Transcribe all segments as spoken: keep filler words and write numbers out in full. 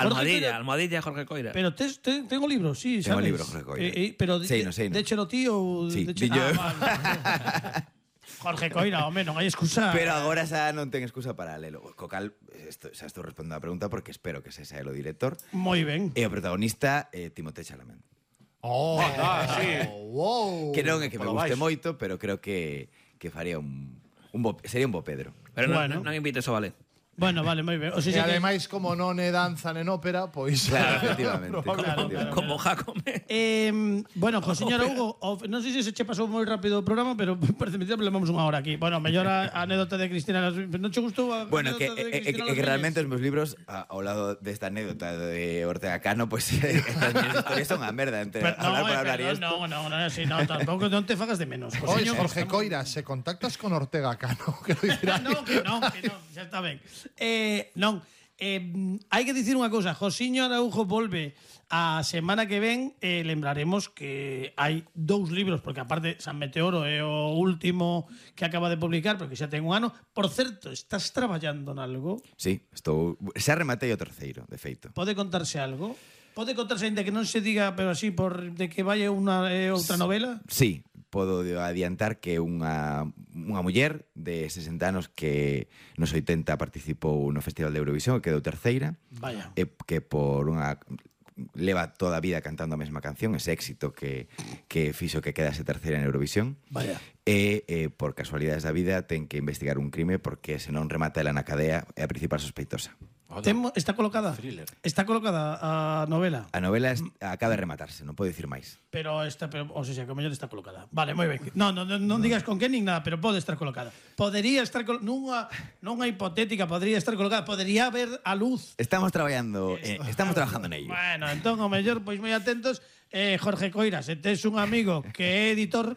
Almohadilla, Almohadilla, Jorge Coira. Pero tes, te, tengo libros, sí, Tengo sabes? libro, Jorge Coira. Eh, eh, pero Sei, no, sei, no. déchelo ti ou... Sí, deche... dillo. Ah, vale. Jorge Coira, home, non hai excusa. Pero agora xa non ten excusa para lelo. Co cal, esto, xa estou respondendo a pregunta porque espero que se sea o director. Moi ben. E o protagonista, eh, Timothée Chalamet. Oh, ah, sí. Wow. Que non é que me Polo guste baixo. moito, pero creo que, que faría un, un bo, sería un bo Pedro. Pero non, Bueno. non invites ao ballet. Bueno, vale, moi ben. O E sea, que... ademais, como non é danza nen ópera, pois... Claro, efectivamente. Claro, efectivamente. Como Jacome. Eh, bueno, jo, señora Hugo, o, non sei se se che pasou moi rápido o programa, pero parece mentira, pero levamos unha hora aquí. Bueno, mellor a, a anécdota de Cristina Las Viñas. Non che gustou a Bueno, que, anécdota de eh, eh, Cristina que, Las que Viñas? realmente os meus libros, a, ao lado desta anécdota de Ortega Cano, pues estas miñas historias son unha merda entre Pero, hablar no, por eh, hablar y perdón, esto. no, no, no, sí, no, tampouco non te fagas de menos. Jo, Oye, señor, Jorge estamos- Coira, se contactas con Ortega Cano, quero dicir, No, que non, que non, xa está ben. Eh, non, eh, hai que dicir unha cousa, Josiño Araujo volve a semana que ven, eh, lembraremos que hai dous libros, porque aparte San Meteoro é o último que acaba de publicar, porque xa ten un ano. Por certo, estás traballando nalgo? Sí, estou xa rematei o terceiro, de feito. Pode contarse algo? Pode contarse ainda que non se diga, pero así por de que vai unha eh, outra novela? Sí, podo adiantar que unha, unha muller de sesenta anos que nos oitenta participou no Festival de Eurovisión, quedou terceira, Vaya. e que por unha leva toda a vida cantando a mesma canción, ese éxito que, que fixo que quedase terceira en Eurovisión. Vaya. E, eh, por casualidades da vida, ten que investigar un crime porque se non remata ela na cadea é a principal sospeitosa. Temo, está colocada? Thriller. Está colocada a novela? A novela es, acaba de rematarse, non podo dicir máis. Pero está, pero, o sea, que o mellor está colocada. Vale, moi ben. No, no, no, non digas con que nin nada, pero pode estar colocada. Podería estar col nunha nunha hipotética, podría estar colocada, podría haber a luz. Estamos traballando, eh, estamos trabajando en ello. Bueno, entón o mellor pois moi atentos. Eh, Jorge Coira, se tes un amigo que é editor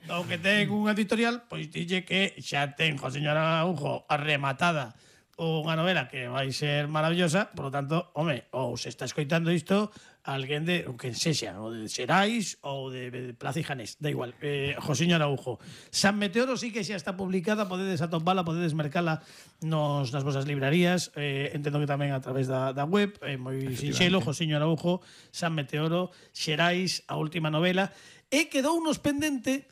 ou que ten unha editorial, pois dille que xa ten, jo señora Araujo, rematada unha novela que vai ser maravillosa, por lo tanto, home, ou se está escoitando isto, alguén de, o que sexa, ou de Xerais ou de, de Plaza y Janés, da igual. Eh, Josiño Araujo. San Meteoro sí que xa está publicada, podedes atopala, podedes mercala nos, nas vosas librarías, eh, entendo que tamén a través da, da web, eh, moi sinxelo, Josiño Araujo, San Meteoro, Xerais, a última novela, e quedou unos pendente.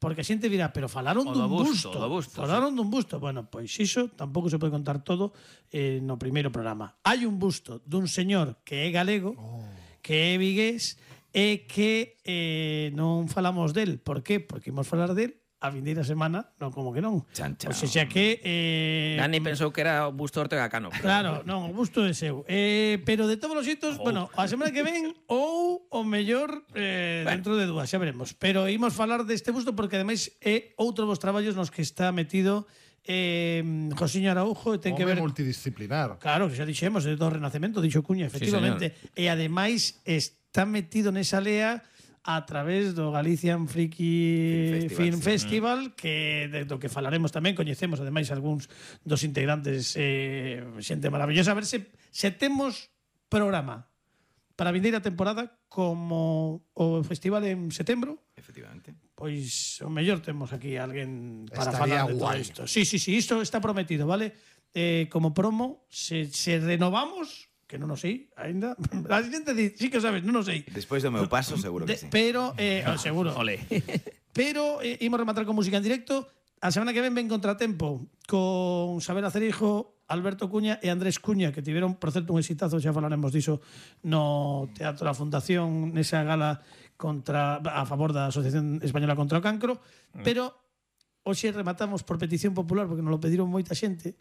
Porque a xente dirá, pero falaron O dun do busto, busto. do busto, falaron dun busto. Bueno, pois iso tampouco se pode contar todo eh, no primeiro programa. Hai un busto dun señor que é galego, oh. que é vigués, e que eh, non falamos del. Por qué? Porque imos falar del a vindeira semana, non como que non. Chan, chan. O sea que... Eh, Dani pensou que era o busto Ortega Cano. Claro, non, o busto é seu. Eh, pero de todos os xeitos, oh. bueno, a semana que ven ou o mellor eh, bueno. dentro de dúas, xa veremos. Pero imos falar deste busto porque ademais é outro dos traballos nos que está metido eh, Josiño Araujo e ten que ver multidisciplinar. Claro, que xa dixemos, é do Renacemento, dixo Cuña, efectivamente. Sí, e ademais está metido nesa lea a través do Galician Friki Film Festival, Film Festival sí. que de, do que falaremos tamén, coñecemos ademais algúns dos integrantes, eh, xente maravillosa. A ver se, se temos programa para a vindeira temporada como o festival en setembro. Efectivamente. Pois o mellor temos aquí alguén para Estaría falar de todo guai. isto. Sí, sí, sí, isto está prometido, vale? Eh, como promo, se, se renovamos, que non o sei aínda. A xente di, sí que sabes, non o sei. Despois do meu paso, seguro que De, sí. Pero, eh, oh, seguro. Ole. Pero eh, imos rematar con música en directo. A semana que ven ven Contratempo con Sabela Cerijo, Alberto Cuña e Andrés Cuña, que tiveron, por certo, un exitazo, xa falaremos diso no Teatro da Fundación, nesa gala contra a favor da Asociación Española contra o Cancro, mm. pero hoxe rematamos por petición popular, porque nos lo pediron moita xente,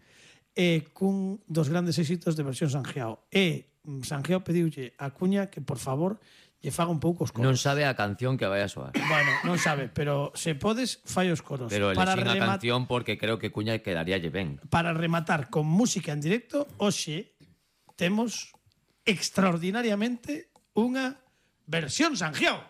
e cun dos grandes éxitos de versión Sanjeao. E Sanjeao pediulle a Cuña que, por favor, lle faga un pouco os coros. Non sabe a canción que vai a soar. Bueno, non sabe, pero se podes, fai os coros. Pero para elexín a remat- canción porque creo que Cuña quedaríalle ben. Para rematar con música en directo, hoxe temos extraordinariamente unha versión Sanjeao.